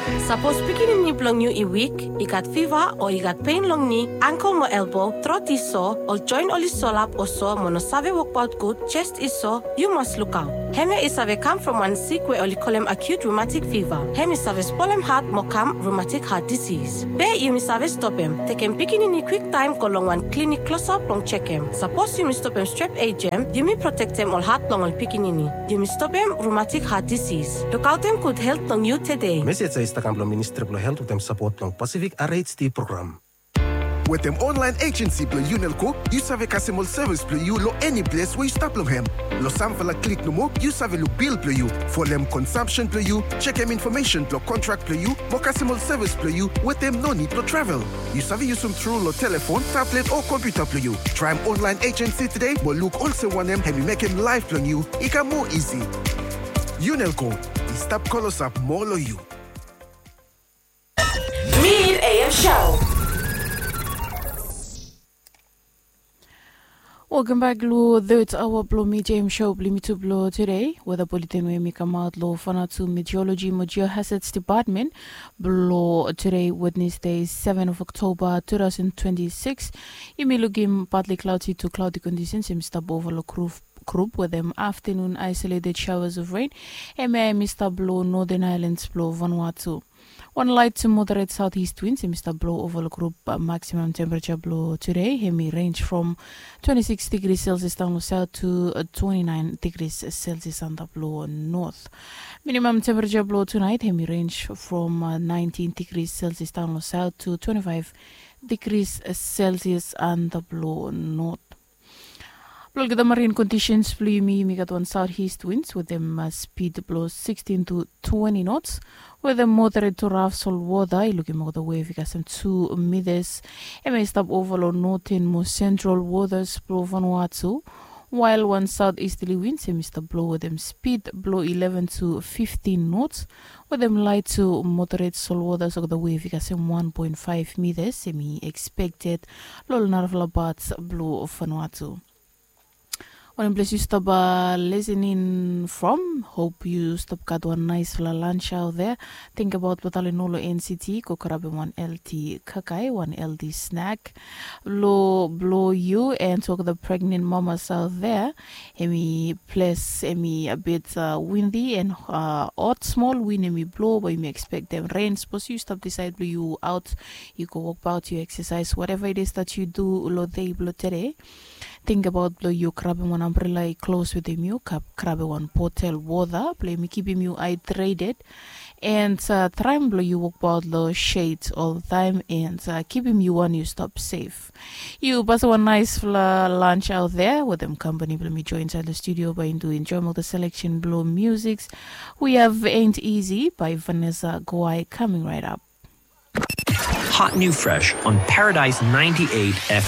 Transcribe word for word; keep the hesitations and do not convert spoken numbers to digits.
Sapos pikinini blong yu i wik, i gat fiva o i gat pen long ni, angkel mo elbo, trot i so, ol joen oli solap o so mo no save wokbaot gud, jes i so, yu mas lukaot. Hemia i save kam from wan sik we oli kolem acute rheumatic fever. Hem i save spolem hat mo kam rheumatic heart disease. Be yumi save stopem, tekem pikinini kwiktaem go long wan klinik klosap blong jekem. Sapos yumi stopem strep ejem, yumi protektem ol hat blong ol pikinini. Yumi stopem rheumatic heart disease. Lukaotem gud helt blong yu tede. Mesej ya i stap kam blong Ministri blong Helt wetem sapot blong Pacific R H D program. Wetem online agency blong Unelco, yu save kasem ol sevis blong yu long eni ples we yu stap long hem. Long samfala klik nomo, yu save luk bil blong yu, folem consumption blong yu, jekem infomesen blong kontrak blong yu, mo kasem ol sevis blong yu wetem no nid blong travel. Yu save yusum tru long telefon, tablet o kompiuta blong yu. Traem online agency tede mo luk olsem wanem hem i mekem laef blong yu i kam moa isi. Unelco i stap klosap moa long yu. Mid A M Show. Welcome back lo third hour blo Mid A M Show blo yumi tu blo today. Weather bulletin we yumi kamaot lo Vanuatu Meteorology mo Geohazards Department blo today, Wednesday, seven of October two thousand twenty-six. Yumi lukim partly cloudy to cloudy conditions hemi stap ova lo group, group wetem afternoon isolated showers of rain. Hemia hemi stap lo Northern Islands blo Vanuatu. Wan light to moderate southeast winds hemi stap blo ova lo group. Maximum temperature blo today hemi range from twenty-six degrees Celsius daon lo south to twenty-nine degrees Celsius antap lo north. Minimum temperature blo tonight hemi range from nineteen degrees Celsius daon lo south to twenty-five degrees Celsius antap lo north. Blo olgeta marine conditions blo yumi, yumi gat wan southeast winds wetem spid blo sixteen to twenty knots wetem moderate to rough salt water. I lukim olgeta wave i kasem two meters. Hemi stap ova lo northern mo central waters blo Vanuatu. While wan southeasterly winds hemi stap blo wetem spid blo eleven to fifteen knots wetem light to moderate salt waters, olgeta wave i kasem one point five meters hemi expected lo ol narafala parts blo Vanuatu. Wanem ples yu stap listening from, hope yu stap gat wan naesfala lunch out there. Tingbaot blo talem no lo N C T, go grabem wan healthy kakae, wan healthy snack lo blo yu. And to olgeta pregnant mamas out there, hemi ples hemi a bit windy and hot smol, win hemi blo, bae yumi expectem ren. Sapos yu stap disaed blo yu aot, yu go wokbaot, yu exercise, whatever it is that yu du lo dei blo tede, tingbaot blo yu grabem wan ambrela i klos wetem yu, grabem wan botel wota blo hemi kipim yu hydrated. And traem blo yu wokbaot lo shade oltaem and kipim yu wan yu stap sef. Yu pasem wan naesfala lunch out there wetem kampani blo mi, joen insaed lo studio bae yumi enjoem olgeta selection blo musics. We have Ain't Easy by Vanessa Guai coming right up. Hot new fresh on Paradise ninety-eight F M.